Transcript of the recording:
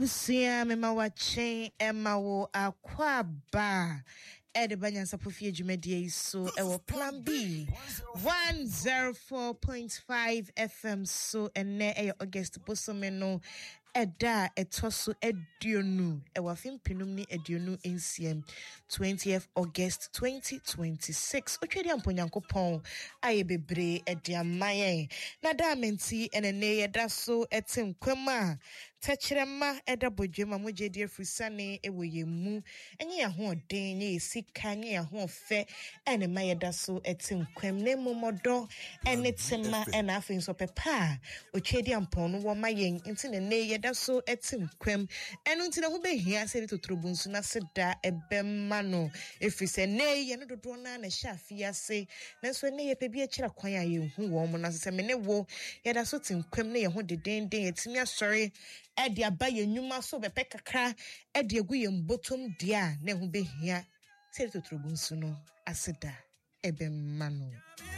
Abusua mema wakye ɛma wo akwaaba ɛde ba nyansapɔ fie dwumadie yi so ɛwɔ Plan B 104.5 FM so. Ɛnɛ ɛyɛ August bosome no ɛda a ɛtɔ so 20 ɛwɔ afe 2026, 20th August 2026. Otwa di ampo Nyankopɔn ayɛ bebree ɛde ama yɛn na daa menti ɛnɛ ne yɛda so ɛte nkwam a tɛkyerɛma ɛda bɔdwam a mogya di afiri ɛwɔ yɛn mu. Ɛnyɛ yɛn ahoɔden, nyɛ yɛn sika, nyɛ yɛn ahoɔfɛ ɛna ma yɛda so ɛte nkwam, na mmom ɔdɔ ɛne tema ɛna afei nso ɔpɛpɛ a otwa di ampɔn no wɔ ma yɛn nti na nnɛ yɛda so ɛte nkwam. Ɛno nti na ho bɛhia sɛ yɛde totorobonsu no ase da ɛbɛma no, ɛfiri sɛ nnɛ yɛn dodoɔ no ara na ɛhyɛ afe ase, nanso ɛnnɛ yɛpɛ bi akyerɛ kwan a yɛnhu wɔn mo. Na sɛ me ne wo yɛda so te nkwam na yɛn ho dedenden, yɛtumi asɔre ɛde aba yɛn nnwuma so bɛpɛ kakra ɛde agu yɛn bɔtɔm deɛ a, na ɛho bɛhia sɛ yɛde totorobonsu no ase da ɛbɛma no.